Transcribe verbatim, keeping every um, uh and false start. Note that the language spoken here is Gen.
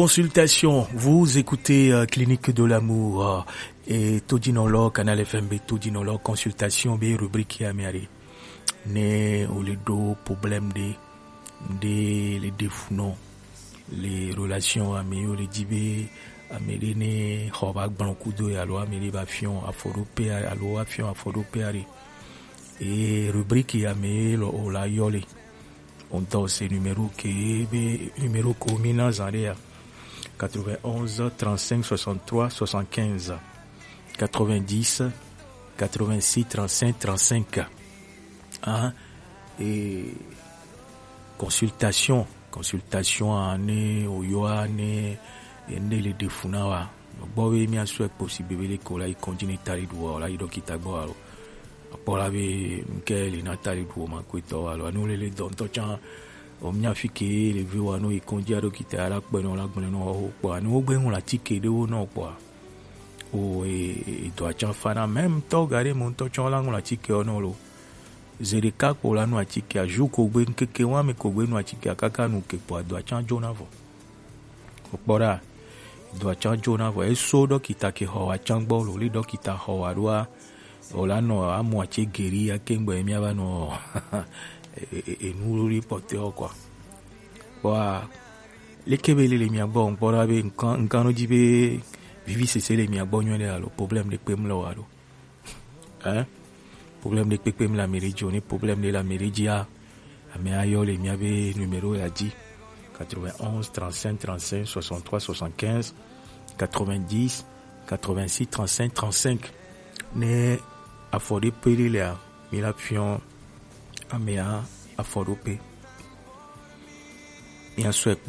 Consultation, vous écoutez euh, Clinique de l'amour euh, et Todinolo, Canal F M B Todinolo, consultation, be rubrique ya miari. Ne o le do problème de, de le défounon, les relations améo le dibe, amede ne hoba gbankudo ya lo amede ba fion afodo pe alo afion afodo pe ari. Et rubrique ya me lo o la yole. On to se numéro ke be numéro ko mi na zare ya. Quatre-vingt-onze trente-cinq soixante-trois soixante-quinze, quatre-vingt-dix quatre-vingt-six trente-cinq trente-cinq. Hein? Et consultation, consultation ane oyo ane ene le defuna wa. Gbɔ be mi asu ekpo si bebe le ko la yi kɔnji ne tari du wa la yi dɔkita gbɔ alo. Akpɔ la be nke le na tari du ma ko tɔ alo anu le le dɔntɔ can. O mi afi ke le vi wa no yi kɔnji a dɔkita la kpɛ no la gblẽ no o kpɔ anu o gbe ŋun la tike de wo no kpɔ. O e e do atsan fa na même tɔ ga de mo ŋutɔ tsɔ la ŋun la tike o no lo. Ze ɖeka kpo la nu atike a, jour ko gbe, ŋkeke wa me ko gbe nu atike a kaka nu ke kpo a do atsan jo na vɔ. Kpɔ ɖa, do atsan jo na vɔ. Eso dɔkita ke xɔ wa tsan gbɔ lo, li dɔkita xɔ wa ɖoa, o la nɔ amu atse geri ake ŋgbɔ mi ava nɔ e- e- e- enu li pɔtɛ o kɔ. Kpɔ a, leke be le le mia gbɔ, ŋkpɔ ɖa be ŋkan ŋkan nɔ dzi be vivi sese le mia gbɔ nyuie ɖe alo problème ɖe kpe mlɔ wa ɖo. Hein? Problème de kpekpe mi la mairie dzi o, ni problème de la mairie dzi a, ame ayɔ le mia be numéro ya dzi. Quatre-vingt-onze trente-cinq trente-cinq soixante-trois soixante-quinze, quatre-vingt-dix quatre-vingt-six trente-cinq trente-cinq. Ne afɔ ɖe pe ɖe lea, mi la fiɔ amea afɔ ɖo pe. Mi asɔe kpo.